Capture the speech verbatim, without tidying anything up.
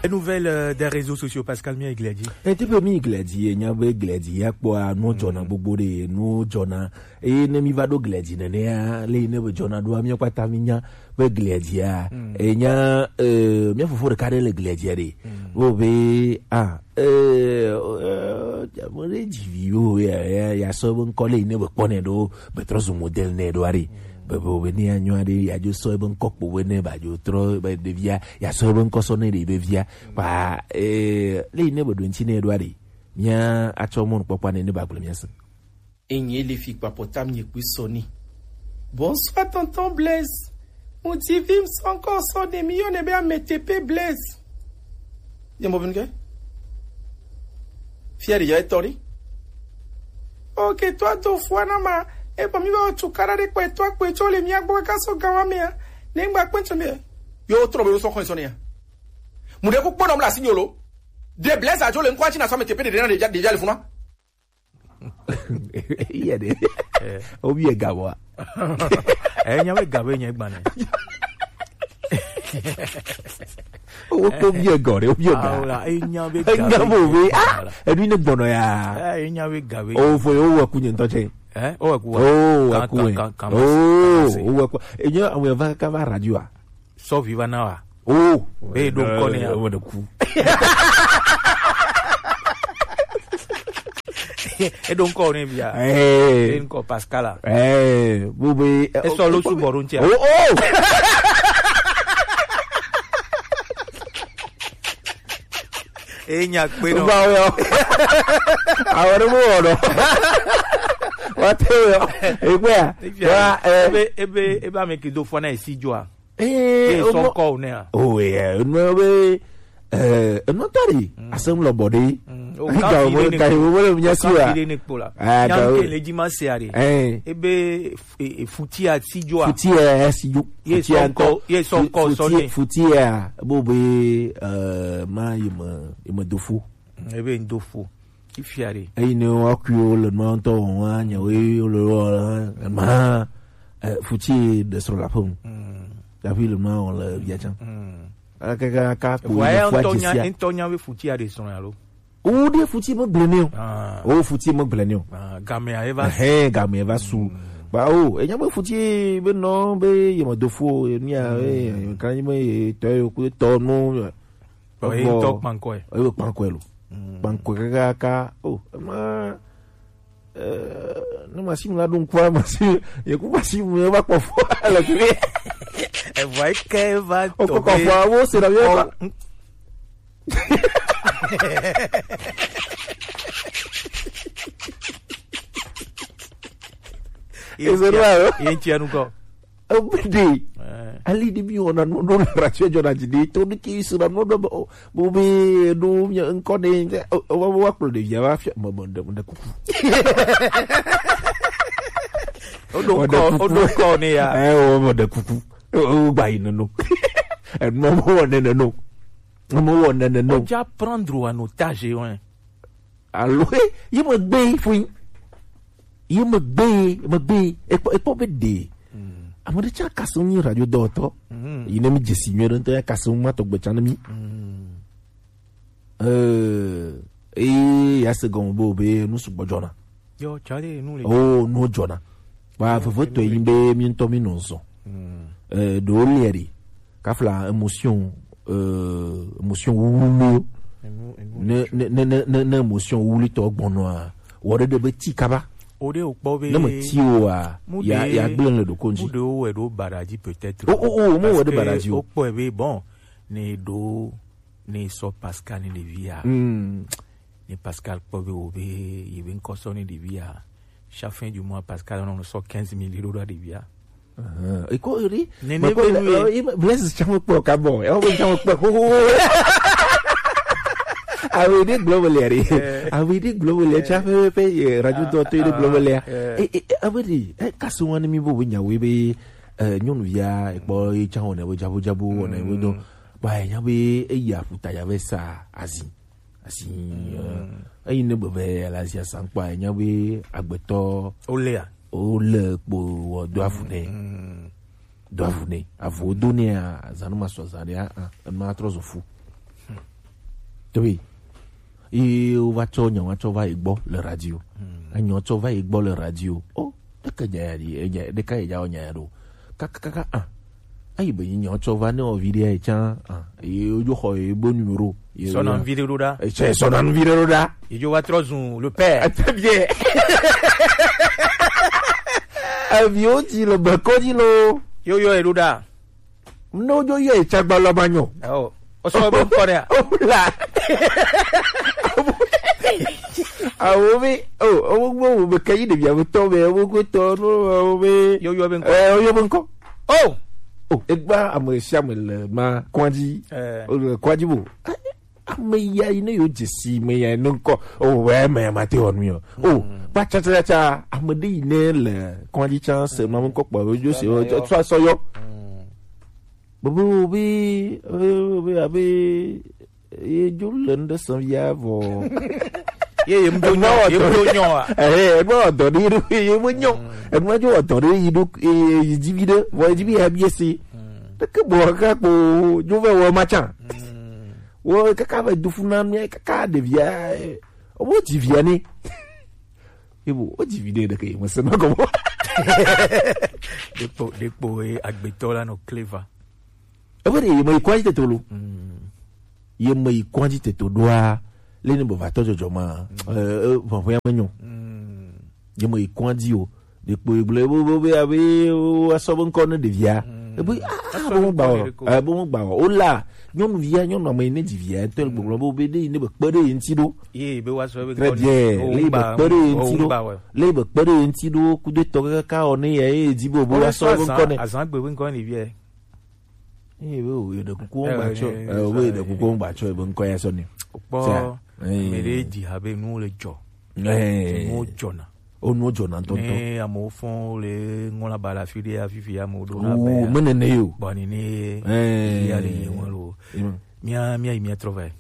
Les nouvelles euh, des réseaux sociaux, Pascal, mi yi glia dzi. Ete be mi glia dzi, enya be glia dzi ya kpɔa, nu dzɔna gbogbo ɖe, nu dzɔna. Eye ne mi va ɖo glia dzi nenea, le yi ne be dzɔna ɖoa, mi kpata mi nya be glia dzia. Enya, eh, mia fofo ɖeka ɖe le glia dzia ɖe. Wo be, ah, eh, eh, ame ɖe dzi vi wo, ya, ya, ya sɔ be ŋkɔ le yi ne be kpɔ ne ɖo, be trɔ zu modèle ne ɖoa ɖe. Be, be, be ne ya nyɔa ɖe, ya dzo sɔ ebe ŋkɔ kpo be ne ba dzo trɔ be ɖevia, ya sɔ ebe ŋkɔ sɔ ne ɖe be via. Kpa, eh, le yi ne be ɖo ŋuti ne ɖoa ɖe. Mia atsɔ mɔnukpɔkpɔ ne ne ba gblɔ mia se. Enye le fi kpakpɔta mi kpui sɔ ni. Bonsoir tonton Blaise. Mo ti vi mi sɔ ŋkɔ sɔ ne mi yɔ ne be ametepe Blaise. Ye mo bin ke? Fia de ya etori. Ok, to ato fua na ma. E pa mi ba tu kara de kwe to akwe cho le mi agbo ka so gawa mi a. Ne ngba kwe cho mi. Yo tro be so kon so ne ya. Mu de ku kpono mla signolo. De Blaise ajo le nkwa chi na so ametepe de de na de ja de ja le funa. Iye de. Obi e gabo a. Eh, nya be gabe nya gbane. Owo ko bi e gɔ re, obi e ga. Awla, eh, nya be gabe. Enya bo be. Ah, ebi ne gbɔnɔ ya. Eh, nya be gabe. O fo yo wa kunye ntɔ che. Eh, o wa ku. O wa ku. Kan, kan, kan, o wa ku. Enye awon va ka va radio a. Sɔ vi va na wa. Oh, be do nkɔ ne ya. Wo de ku. E do nkɔ ne bia. Eh. E nkɔ Pascal. Eh, bo be. E sɔ lo su bɔru ntia. Oh, oh. E nya kpe no. Ba yo. Awore mo wono. Wa te yo. E gbe a. Wa, eh. Ebe, ebe, ebe ame ke do fo na e si jo a. Eh, e sɔ nkɔ o ne a. Oh, yeah, no be, eh, no tari. Asem lo body. O ka fi de ne. Ka wo le nya si wa. Ka fi de ne kpola. Ah, nya ke le ji ma se are. Eh. Ebe futi a si jo a. Futi a si jo. Ye sɔ nkɔ, ye sɔ nkɔ sɔ ne. Futi a bo be, eh, ma ye ma, ye ma do fo. Ebe n do fo. Ki fia ɖe. Eyi ne wa kui wo le nua ŋutɔ wɔm wa nya wo ye wo le wɔ le ma, eh, futi de srɔ̃ la ƒe ŋu. Davi le nua wɔm le via tsã. Kaka ka ko ye fua ŋutɔ nya, dzesi a. Ŋutɔ nya be futi a ɖe srɔ̃ ya lo. Wo ɖe futi me gblẽ ne o. Ah. Wo futi me gblẽ ne o. Ah, gamea eva su. Ehẽ, gamea eva su. Ba o, enya be futi be nɔ be ye me do fo, ye mia, eh, kan ye me ye tɔ ye ku tɔ no. Ɔ, ye ŋutɔ kpankɔe. Ɔ, ye kpankɔe lo. Kpankɔe kakaka. O, ema, eh, ne machine la ɖo ŋkua, machine, ye ku machine me va kpɔ fo le fi. Evɔ yi ke va tɔ be. O kɔ fo, wo se na ye va. Ye ŋutia nu kɔ. Ebe ɖe. Eh. Ali ɖe mi wɔna nu ɖo le radio dzɔna dzi ɖe to ɖe ke suna nu ɖo be o, bo be ɖo mi ŋkɔ ɖe, o, o, wa kplɔ ɖevia va fia, me, me, me, me kuku. O ɖo ŋkɔ, o ɖo ŋkɔ ne ya. Eh, o, me ɖe kuku. O, o, gba yi neno. Enu mo wɔ ne neno. Mo wɔ ne neno. O ja prendre en otage, ouais. Alo, eh, ye me gbe fui. Ye me gbe, me gbe. Ekpɔ, ekpɔ be ɖe. Ame ɖe tsã kase ŋu nyi radio dɔwɔtɔ. Yi ne mi dzesi nyuie ɖe ŋutɔ ya kase ŋu ma tɔgbe tsã ne mi. Eh, eh, ya se gɔme be o be nu sugbɔ dzɔna. Yo, tsale nu le. Oh, nu dzɔna. Ba veve tɔ yi be mi ŋutɔ mi nɔ zɔ. Eh, ɖewo lia ɖi. Kafla émotion, euh, émotion wuwuliwo. Ne, ne, ne, ne, ne, ne émotion wuwulitɔ gbɔnɔa, wɔ ɖe ɖe be ti kaba. O ɖe o kpɔ be. Ne me ti o a, ya, ya gblẽ le ɖoko ŋuti. Mu ɖewo wɛ ɖo baɖa dzi peut-être. O, o, o, mo wɛ ɖe baɖa dzi o. Parce que o kpɔe be bon, ne ɖo, ne sɔ Pascal ne ɖevia. Hmm. Ne Pascal kpɔ be wo be, ye be ŋkɔ sɔ ne ɖevia. Chaque fin du mois, Pascal nɔ sɔ quinze mille euro ɖo ɖevia. Eko eri. Nene be nu ye. Blaise tsã me kpɔ ka bɔ. Ewo be tsã me kpɔ. Awe ɖe gblɔ me le ri. Awe ɖe gblɔ me le tsã ƒe ƒe radio dɔ to ɖe gblɔ me le. E, e, awe ɖe, e, kasi wani mi bo be nyawe be, eh, nyɔnuvia, ekpɔ ye tsã wɔna be dzabu dzabu wɔna be dɔ. Ba enya be eya ƒuta ya ve sa azi. Asi, eh, eyi ne gbeve le asi asankpa, enya be agbetɔ. Olea. Ole kpo wɔ do avu nɛ. Do avu nɛ. Avu do nɛ a, zanu ma sɔ zan ɖe a, a, enu atrɔ zɔ fu. Tobi. Ye wova tsɔ nya wa tsɔ va yi gbɔ le radio. Enya tsɔ va yi gbɔ le radio. Oh, ɖeke nya ya ɖi, enya ɖeka yi dza wɔ nya ya ɖo. Kakakaka ah. Ayi be nyi nya tsɔ va ne wɔ vi ɖe ya tsã ah. Ye wodzo xɔ ye bo numéro. Ye sɔna vi ɖe ɖo ɖa. Etsɛ sɔna vi ɖe ɖo ɖa. Ye dzo va trɔ zu le père. Très bien. Aviwo dzi le bekɔ dzi lo. Yo yo ye ɖo ɖa. Ne wodzo yɔ etsagba lɔ ma nyɔ. Ɔ, o sɔ be ŋkɔ ɖe. O la. Awo be, o, o gbɔ wo be ke yi ɖevi awo tɔ be, o gbɔ tɔ no, o be. Yo yo be ŋkɔ. Eh, o yo be ŋkɔ. Oh. Oh, egba ame sia ame le ma kɔdzi. Eh. O le kɔdzi bo. Ame ya yi ne yo dzesi me ya ne ŋkɔ. O we me ya ma te wɔ nu yo. O, ba cha cha cha, ame ɖe yi ne le kɔdzi cha se ma ŋkɔ kpɔ, o jo se, o tsɔ sɔ yɔ. Bobo be, be, be, abe, ye jo le ŋɖe sã via vɔ. Ye, ye mdo nyɔ, ye mdo nyɔ a? Eh, egbe wɔ dɔ ɖe yi ɖo, ye me nyɔ. Egbe dzo wɔ dɔ ɖe yi ɖo, eh, yi dzi vi ɖe, vɔ yi dzi vi ya bi esi. Ɖeke bɔ kaka kpo, dzo vɛ wɔ ma tsã. Wɔ kaka vɛ du fu na mía kaka ɖevia, eh, wo dzi via ni. Ebo, wo dzi vi ɖe ɖeke, me se ma kɔmɔ. Ɖekpo, ɖekpo, eh, agbetɔ la nɔ clever. Ebe ɖe ye me yi kɔdzi tete lo. Ye me yi kɔdzi tete ɖoa, le ne be va tɔ dzɔdzɔ ma, eh, eh, ʋɔ̃ʋɔ̃ ya me nyɔ. Ye me yi kɔdzi o. Ɖekpo ye gblɔ, ebe, ebe, ebe, abe, wo asɔ be ŋkɔ ne ɖevia. Ebe, ah, ah, be mo gba o. Eh, be mo gba o. O la, nyɔnuvia, nyɔnu ame yi ne dzi via, ŋutɔ le gbɔgblɔ be, be ɖe yi ne be kpe ɖe ye ŋuti ɖo. Ye be wa sɔ be. Très bien. Le be kpe ɖe ye ŋuti ɖo. Le be kpe ɖe ye ŋuti ɖo, kudo tɔ kaka o ne ya ye dzi be o be wa sɔ be ŋkɔ ne. Azan gbe be ŋkɔ ne ɖevia. Eye be o ye ɖe kuku wo gba tsɔ, eh, o be ye ɖe kuku wo gba tsɔ, ebe ŋkɔ ya sɔ ni. Kpɔ, me ɖe dzi habe nuwo le dzɔ. Eh. Nuwo dzɔna. O nuwo dzɔna ŋutɔŋutɔ. Ne amewo fɔn le ŋlɔ ba le afi ɖe, afi fi amewo ɖo na be. O, me nene yo. Bɔ ni ne. Eh. Ya le ye ŋlɔ lo. Mía, mía yi mía trɔ va yi.